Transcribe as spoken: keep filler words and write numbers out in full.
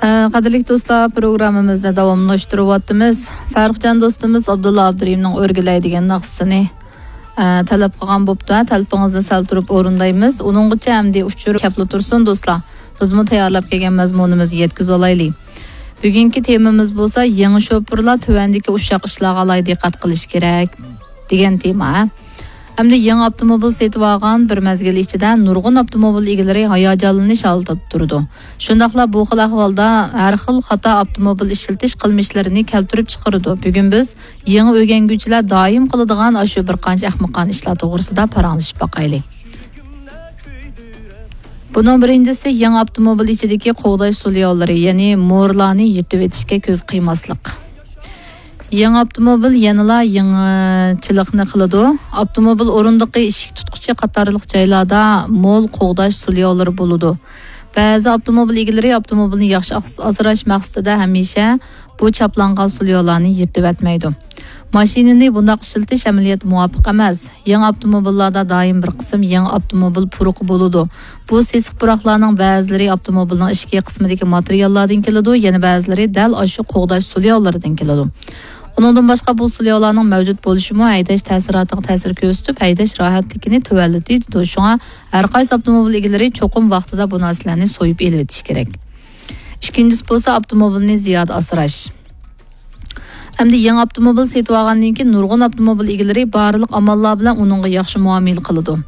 قەدىرلىك دوستلار، پروگراممىمىزنى داۋاملاشتۇرۇۋاتىمىز. فەرۇقجان دوستىمىز ئابدۇللا ئابدۇرېھىمنىڭ ئۆرگىلەي دېگەن ناخشىسىنى، ئە، تەلەپ قىلغان بوپتۇ. ھە، تەلىپىڭىزنى سەل تۇرۇپ ئورۇندايمىز. ئۇنىڭغىچە ئەمدى ئۇچۇر كەپلا تۇرسۇن دوستلار. بىزمۇ تەييارلاپ كەلگەن مەزمۇنىمىزنى يەتكۈزۈۋالايلى. بۈگۈنكى تېمىمىز بولسا يېڭى شوپۇرلار تۆۋەندىكى ئۇششاق ئىشلارغا ئالاھىدە دىققەت قىلىش كېرەك دېگەن تېما. ئەمدى يېڭى ئاپتوموبىل سېتىۋالغان بىر مەزگىل ئىچىدە نۇرغۇن ئاپتوموبىل ئىگىلىرى ھاياجانلىنىش ھالىتىدە تۇرىدۇ. شۇنداقلا بۇ خىل ئەھۋالدا ھەر خىل خاتا ئاپتوموبىل ئىشلىتىش قىلمىشلىرىنى كەلتۈرۈپ چىقىرىدۇ. بۈگۈن بىز يېڭى ئۆگەنگۈچىلەر دائىم قىلىدىغان ئاشۇ بىر قانچە ئەخمىقانە ئىشلار توغرىسىدا پاراڭلىشىپ باقايلى. بۇنىڭ بىرىنچىسى يېڭى ئاپتوموبىل ئىچىدىكى قوغداش سولياۋلىرى، يەنى مورلارنى يىرتىۋېتىشكە كۆز قىيماسلىق. يېڭى ئاپتوموبىل يەنىلا يېڭىچىلىقنى قىلىدۇ. ئاپتوموبىل ئورۇندۇقى، ئىشىك تۇتقۇچى قاتارلىق جايلاردا مول قوغداش سولياۋلىرى بولىدۇ. بەزى ئاپتوموبىل ئىگىلىرى ئاپتوموبىلنى ياخشى ئاس-، ئاسراش مەقسىتىدە ھەمىشە بۇ چاپلانغان سولياۋلارنى يىرتىۋەتمەيدۇ. ماشىنىنى بۇنداق ئىشلىتىش ئەمەلىيەتتە مۇۋاپىق ئەمەس. يېڭى ئاپتوموبىللاردا دائىم بىر قىسىم يېڭى ئاپتوموبىل پۇرىقى بولىدۇ. بۇ سېسىق پۇراقلارنىڭ بەزىلىرى ئاپتوموبىلنىڭ ئىچكى قىسمىدىكى ماتېرىياللاردىن كېلىدۇ، يەنە بەزىلىرى دەل ئاشۇ قوغداش سولياۋلىرىدىن كېلىدۇ. ئۇنىڭدىن باشقا، بۇ سولياۋلارنىڭ مەۋجۇت بولۇشىمۇ ھەيدەش تەسىراتىغا تەسىر كۆرسىتىپ، ھەيدەش راھەتلىكىنى تۆۋەنلىتىدۇ. شۇڭا ھەر قايسى ئاپتوموبىل ئىگىلىرى چوقۇم ۋاقتىدا بۇ نەرسىلەرنى سويۇپ ئېلىۋېتىشى كېرەك. ئىككىنچىسى بولسا ئاپتوموبىلنى زىيادە ئاسراش. ئەمدى يېڭى ئاپتوموبىل سېتىۋالغاندىن كېيىن نۇرغۇن ئاپتوموبىل ئىگىلىرى بارلىق ئاماللار بىلەن ئۇنىڭغا ياخشى مۇئامىلە قىلىدۇ.